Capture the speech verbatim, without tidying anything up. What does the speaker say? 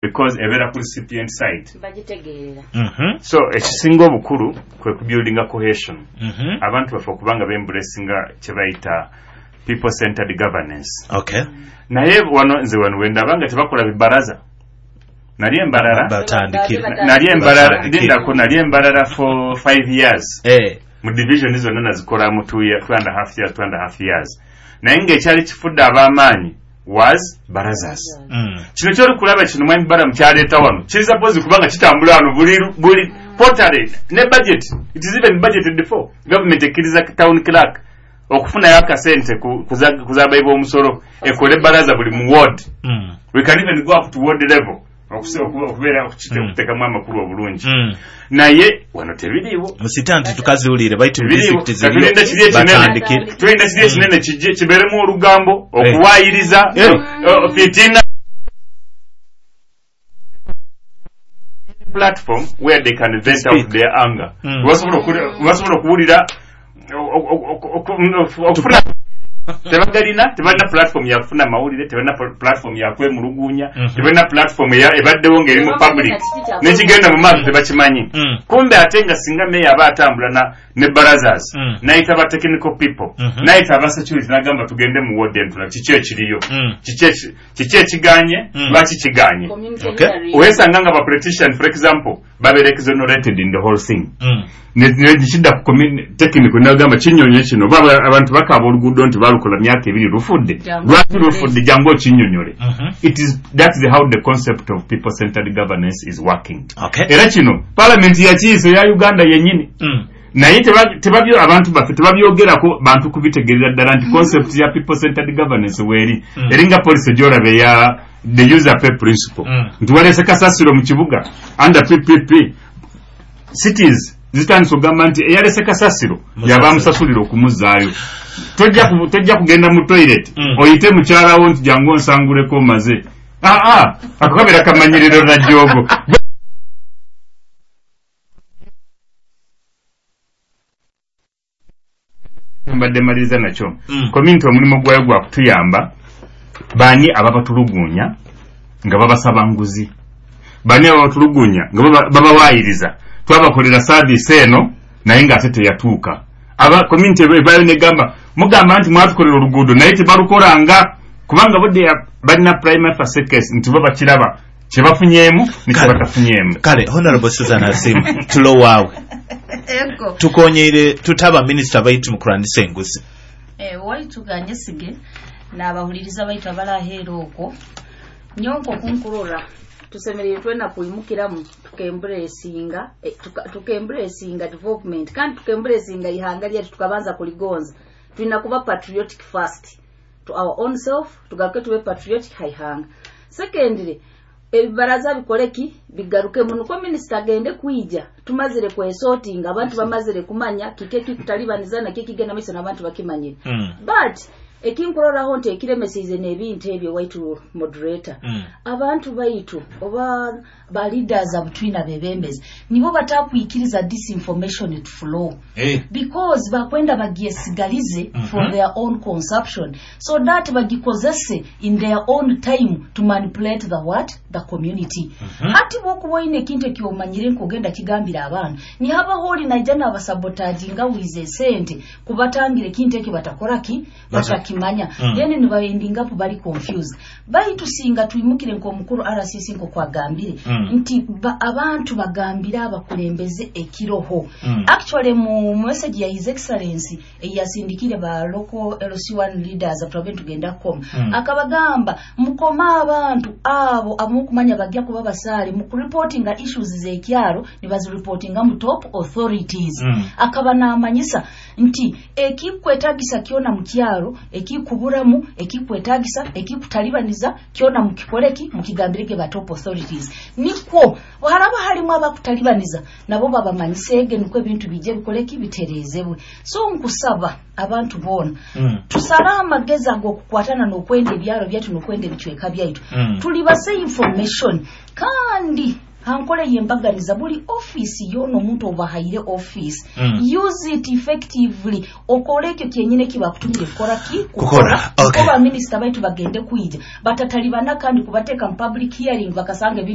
Because ebeera ku recipient side. Bagitegeerera. Mhm. So ekisinga obukulu kwe kubuildinga cohesion, Mhm. abantu baffe okubanga beembracinga kye bayita people centered governance. Okay. Naye wano nze wano wendaba nga tebakola bibaraza, nali embalala. Batandikire. Nali embalala. Batandikire. Lindako, nali embalala for five years. Eh. Mu division zonna nazikola mu two year, two and a half years, two and a half years, naye ng'ekyali kifudde ab'amaanyi was barazas. Mm. Kino kyoli kulaba kino, mwami Balamu kyaleeta wano kiri suppose kubanga kitambula wano buli buli quarterly ne budget. It is even budgeted for. Government ekkiriza town clerk okufunayo akasente ku- kuza- kuzabayi b'omusolo ekole baraza buli mu ward. Mm. We can even go up to ward level okuse- okuba- okubeera Mm. okuteekamu amakulu obulungi. Mm. Naye wano tebiriiwo. Musita nti tukaziwulire baitu Tebiriiwo. district Katulinda kiri ekinene. batandikire. Tulina kiri ekinene kijje kibeeremu olugambo, okuwaayiriza, Eh. eh, fitina, platform where they can vent out Speak. their anger. Mm. Webasobola okuli- webasobola okuwulira o- o- o- o- okufuna tebagalina, tebalina platform yakufuna mawulire, tebalina pl- platform yakwemulugunya. Mhm. Tebalina platform eya- ebaddewo ng'eri mu Tebamanyi public na kiki kya- nekigenda mu maaso tebakimanyi. Mm. Kumbe ate nga singa meya aba atambula na ne barazas, Mm. nayita ba technical people, Mhm. nayita aba security, nagamba tugende mu ward entula, kiki ekiriyo, Mm. kiki eki- kiki ekiganye, Mm. lwaki kiganye. Community Okay. hearing. Wesanga nga ba politician, for example, babeera exonerated in the whole thing. Mm. Ne- ne kidda ku commu- technical, nagamba kinyonyo kino oba aba- abantu bakaaba oluguudo nti balukola myaka ebiri lufudde. Jangu Lwaki lufudde? Jangu okinyonyole. Mhm. It is that is how the concept of people centered governance is working. Okay. Era kino parliament yakiyise eya Uganda yennyini. Mm. Naye teba- tebabyo abantu baffe tebabyogerako bantu kubitegerera ddala nti concept ya people centered governance weeri. Mm. Eringa policy gyolaba eya the user pay principle, Mm. nti waleese kasasiro mu kibuga, under P P P cities zitandise okugamba nti eyalese kasasiro Musasiro. yaba amusasulira okumuzzaayo. Tojja ku- tojja kugenda mu toilet Mm. oyite mukyalawo nti jangu onsanguleko omaze. Aa, ako kabeera kamanyiriro na joogo. Mbadde maliriza nakyo. Mm. Community omulimu gwayo gwa kutuyamba baani ababatulugunya nga babasaba nguzi, baani ababatulugunya nga baba- babawaayiriza twabakolera service eno naye ng'ate teyatuuka. Aba community ebayo negamba mugamba nti mwatukolera oluguudo naye tebalukolanga, kubanga budde ya- balina prima facie case nti bo bakiraba kyebafunyeemu ne Kale. kyebatafunyeemu. Kale Honorable Susan Asimu, tulowaawe. Ego. Tukonyeire tutaba minisita baitu mu kulwanyisa enguzi. Eh, waitu ganyesige n'abahuliriza baitu abalaheera okwo nyonko kunkurora tusemereire twena kwimukiramu tukemburesinga, eh, tuka- tukemburesinga development kandi tukemburesinga ihanga lyaitu, tukabanza kuligonza. Tulina kuba patriotic first to our own self, tugaruke tube patriotic haihanga. Secondly, ebibaraza bikoleki bigarukemu nukwo minisita agende kwija tumazire kwesortinga, abantu bamazire kumanya kiki ekikutalibaniza nakyo ekigenda maiso n'abantu bakimanyire. Mm. But ekinkuroraho nti ekiremesize n'ebintu ebyo, waitu moderator, Mm. abantu baitu oba ba leaders abutwina bebembezi nibo batakwikiriza disinformation to flow, Eh. because bakwenda bagyesigalize mm Mhm. -hmm. for their own consumption, so that bagikozese in their own time to manipulate the what, the community. mm -hmm. Ati bwokuba oyina ekintu ekyomanyire nkogenda kigambira abantu, nihabaho oli naija nabasabotaginga wize esente kubatangira ekintu ekyo batakoraki, batakimanya. Mm. Then nibaendingapo bali confused. Baitu singa twimukire nk'omukuru R C C nkokwagambire Mm. nti ba, abantu bagambire abakulembeze ekiroho. Mm. Actually, mu message ya His Excellency eyasindikire ba local L C one leaders twabe tugenda koma, Mm. akabagamba mukoma abantu abo amukumanya bajja kuba basaale mu kureportinga issues z'ekyalo nibazireportinga mu top authorities. Mm. Akaba namanyisa nti ekikwetagisa kyona mu kyalo, ekikuburamu, ekikwetagisa, ekikutalibaniza kyona mukikoleki, mukigambirege ba top authorities, nikwo haraba halimu abakutalibaniza nabo babamanyisege, nikwo ebintu bijje bikoleki, biterezebwe. So nkusaba abantu boona Mm. tusale amagezi ag'okukwatana n'okwenda ebyalo byaitu n'okwenda ebicweka byaitu. Mm. Tulibase information kandi Hankole yembaganiza, buli ofiisi yoona omuntu obahaire ofiisi, Mm. use it effectively, okole ekyo kyenyine kibakutumire kukora ki? Kukora, okay. Kuba minisita baitu bagende kwija batatalibana kandi kubateeka mu public hearing, bakasanga ebintu.